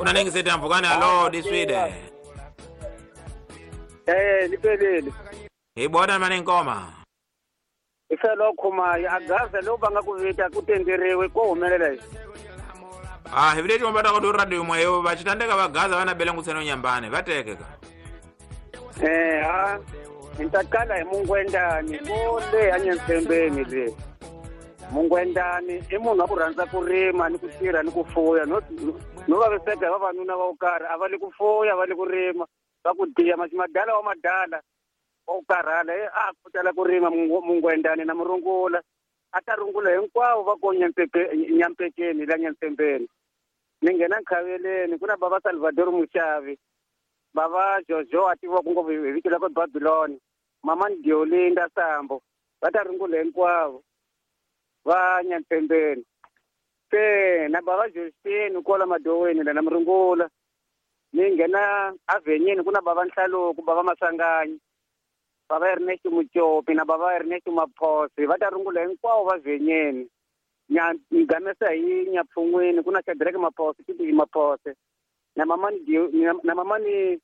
Kuna ningi sete mpfukani alo diswide. Lipelele. Hi bona mani nkoma. Ifelo khumayo agaza lo banga ku vita ku tenderiwe ko humelela. Ah, hi vile chomba ta ku radio mwayo va chitandeka va gaza vana bele ngutseno nyambane va tekeka. Ha ntakala hi mungwendani ko le anyantsembeni le. Mungwendani i munhu wa ku rhandza ku rima ni ku tirha ni ku fuya no vaviseka hi vavanuna va ku karhi a va le ku fuya va le ku rima va ku diya madala wa madala wa ku karhala a ku tala ku rima mungwendani na murungula a ta rungula hinkwavo va ko nyampekeni la nyantsembeni ni nghena nkhaveleni ku na bava Salvador Muxavi bava Jojo a tiviwa ku ngopfu hi vito la ku Babylon mama Diolinda Sambo va ta rungula hinkwavo va nyantsembeni se na bava Justine kwala madoweni la na murungula ni nghena avenyeni ku na bava Nhlaluko bava Masanganyi bava Ernest Muchopi na bava Ernest Maphosi va ta rungula hinkwavo va venyeni ni gamesa hi nyapfun'wini ku na Shadrack Maphosi Titi Maphosi na mamani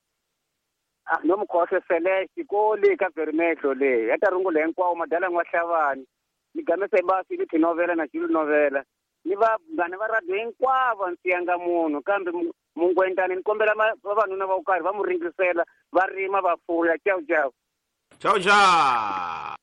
no mukhohle Celeste ko le ka Vermehlo le ya ta rungula hinkwavo madala n'wa Hlavani ni gamesa hi basi ni tinovela na Julu novela ni va vanghana va radio hinkwavo ndzi yanga munhu kambe mungwendani ni kombela vavanuna va ku karhi va mu ringisela va rima va fuya. Ciao ciao. Ciao ciao.